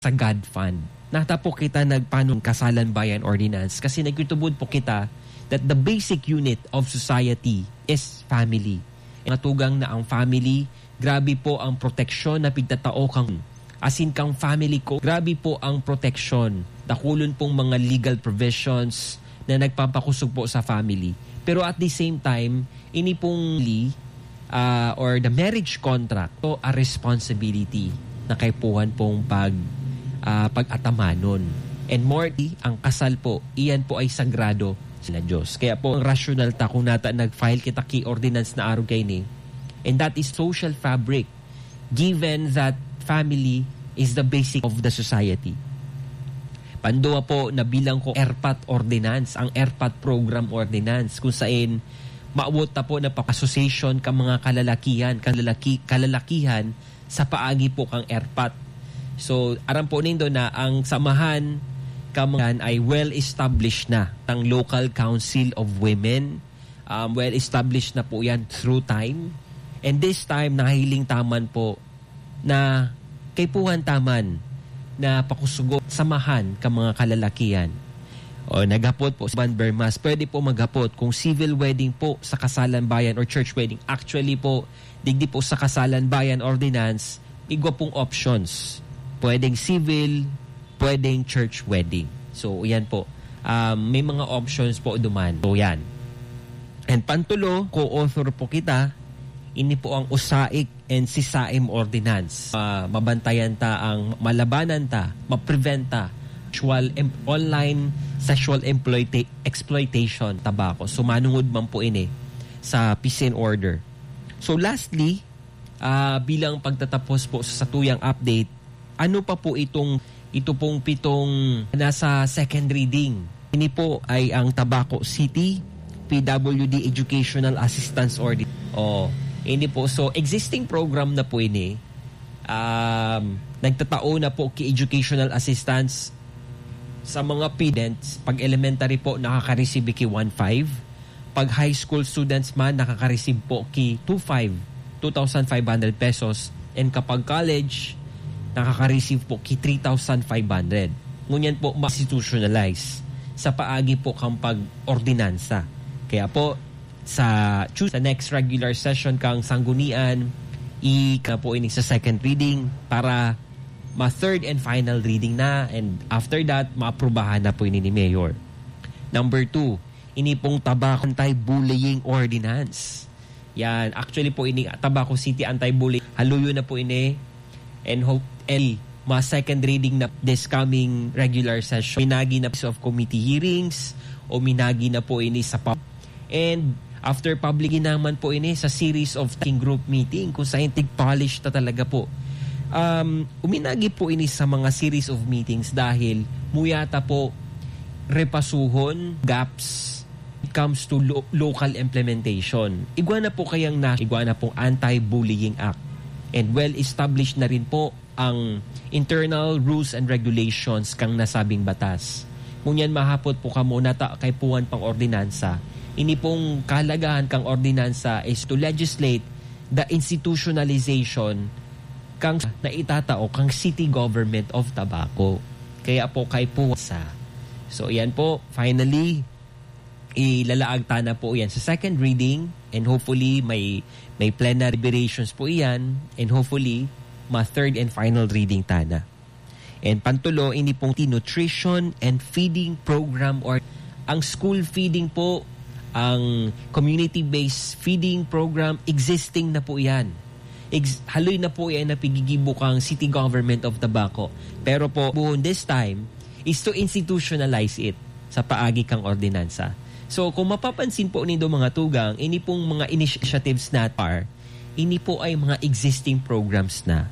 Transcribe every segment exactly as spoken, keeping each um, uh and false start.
sa God Fund. Nata po kita nagpanong Kasalan Bayan Ordinance kasi nagtutubod po kita that the basic unit of society is family. Mga tugang na ang family, grabe po ang proteksyon na pigtatao kang, asin kang family ko, grabe po ang proteksyon. Dakulon pong mga legal provisions na nagpapakusog po sa family. Pero at the same time, ini pong li-, ah, or the marriage contract, to a responsibility na kaipuhan pong pag, ah, pag-atamanon. And more, ang kasal po, iyan po ay sagrado sa Diyos. Kaya po, ang rasyonal ta kung nata nag-file kita ki ordinance na arog kaini. And that is social fabric, given that family is the basic of the society. Panduwa po, nabilang ko ERPAT ordinance, ang ERPAT program ordinance, kung sain maawot ta po na pa-, association ka mga kalalakihan, kalalaki-, kalalakihan sa paagi po kang ERPAT. So, aram po nindo na ang samahan ka mga ay well-established na, ang Local Council of Women, um, well-established na po yan through time. And this time, nahiling taman po na kaipuhan taman na pakusugo samahan ka mga kalalakihan. O, naghapot po si Van Bermas, pwede po maghapot kung civil wedding po sa Kasalan Bayan or church wedding. Actually po, digdi po sa Kasalan Bayan Ordinance, igwa pong options. Pwedeng civil, pwedeng church wedding. So, yan po. Um, may mga options po duman. So, yan. And pantulo, co-author po kita. Ini po ang USAIC and SISAIM Ordinance. Ah, mabantayan ta ang malabanan ta, maprevent ta sexual em-, online sexual employta-, exploitation, tabako. So, manungod man po ini sa peace and order. So, lastly, ah, bilang pagtatapos po sa satuyang update, ano pa po itong, ito pong pitong nasa second reading? Ini po ay ang Tabaco City P W D Educational Assistance Order. Oh, ini po. So, existing program na po ini. Um, nagtatao na po ki educational assistance sa mga students. Pag elementary po, nakaka-receive ki one five. Pag high school students man, nakaka-receive po ki two five, two thousand five hundred pesos. And kapag college, nakaka-receive po ki three thousand five hundred. Ngunyan po, ma-institutionalize sa paagi po kang pag-ordinansa. Kaya po, sa Tuesday, sa next regular session kang Sanggunian, i-, ka po ini sa second reading para ma-third and final reading na, and after that, maaprubahan na po ini ni Mayor. Number two, ini pong Tabaco Anti-Bullying Ordinance. Yan. Actually po, ini Tabaco City Anti-Bullying. Haluyon na po ini. And hope, and ma second reading na this coming regular session. Minagi na piece of committee hearings o minagi na po ini sa pub-, and after public, ginaman po ini sa series of working group meeting kung saan tig-polish ta talaga po. Um, uminagi po ini sa mga series of meetings dahil muyata po repasuhon, gaps, it comes to lo-, local implementation. Igwa na po kayang na, igwa na pong Anti-Bullying Act. And well-established na rin po ang internal rules and regulations kang nasabing batas. Ngunyan mahapot po kamo nata kaipuhan pang ordinansa. Ini pong kahalagahan kang ordinansa is to legislate the institutionalization kang naitatao kang City Government of Tabaco. Kaya po kaipuhan sa. So, yan po. Finally, ilalaag ta na po yan sa second reading, and hopefully may, may plenary deliberations po iyan, and hopefully ma third and final reading ta na. And pantulo, ini pong nutrition and feeding program or ang school feeding po, ang community-based feeding program, existing na po yan. Ex-, haloy na po yan na pigigibo kang City Government of Tabaco. Pero po, buhon this time, is to institutionalize it sa paagi kang ordinansa. So, kung mapapansin po nindo, mga tugang, ini pong mga initiatives na par, ini po ay mga existing programs na,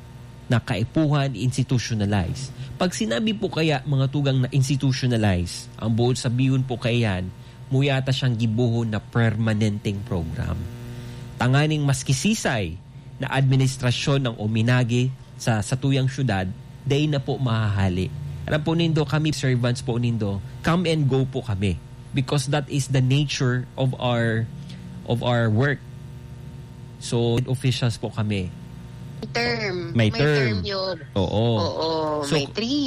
na kaipuhan i-institutionalize. Pag sinabi po kaya, mga tugang, na institutionalize, ang buod sabihon po kaya yan, muyata siyang gibohon na permanenteng program. Tanganing maski sisay na administrasyon ang uminagi sa satuyang syudad, dai na po mahahali. Alam po nindo, kami servants po nindo, come and go po kami. Because that is the nature of our, of our work. So, officials po kami. Term. May May term. Term yun. Oo. Oo, So, may three